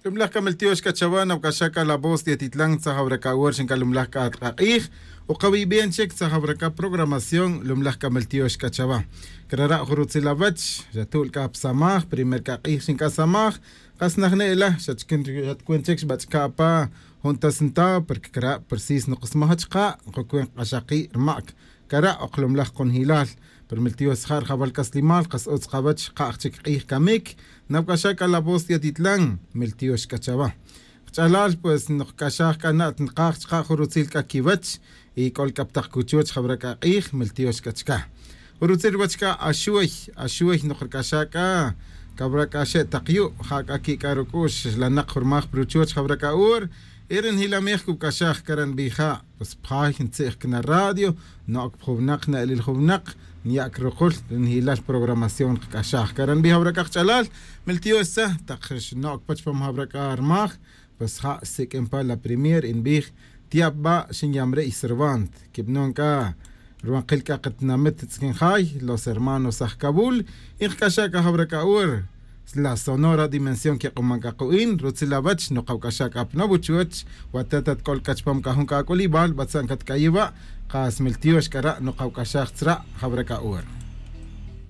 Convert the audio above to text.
Lumlaj kameltiox kachawa nawkaxaka La Voz de Atitlán tzajabraka uer xinka lumlaj k'atq'aq'ij uqawib'ien chik tzajabraka programación lumlaj kameltiox kachawa. Krara' jurutzilawach xatul k'a psamaj primer k'aq'ij xinka samaj qas najne'la xachkin xatkuen chik xb'ach'ka'pa juntasnta porque kra' precis nuqsmaj chqa' qukuen q'axaqi' rma'k kara' oqlumlaj qonjilal pero miltios jar jabal kaslimal qas utz qawach qa'j chik q'ij kamik nawkaxaka La Voz de Atitlán miltiox kachawa. Ch'alal pues nuqk'axaj k'ana' nqaj chqa' jurutzil k'a kiwach y k'ol k'aptaq kuchuch jabra k'aq'ij miltiox k'achka. Jurutzil wach k'a axuy axuy nuqrk'axa k'a kabra k'a xe' taqyu' ja k'a ki k'a ruk'u'x lanaq jurmaj pruchuch jabra k'a ur irin hilamij kuk'axaj karan bija pues pjay ntzij kna radio no'k pjuwnaq na'lil juwnaq niyak ruqul rinhilal programación qk'axaj karan bija jabra k'a ch'alal miltiox tza taq no'k pach pam jabra k'a rmaj pues ja sik'impa la premier inbij tiab ba xinyamre Cervant kibnon k'a ruanqil k'a qatnamit tz'kinjay los hermanos aj Kabul inqk'axa k'a jabra k'a ur la Sonora Dimensión que q'umankaqu'in rutzilawach nuqawk'axa k'a pnabuchuch watatat k'ol k'achpam k'ajun k'ak'ulib'al b'atzan katk'ayiwa' qas miltiox k'ara' nuqawk'axaj tzra' jabra k'a ur.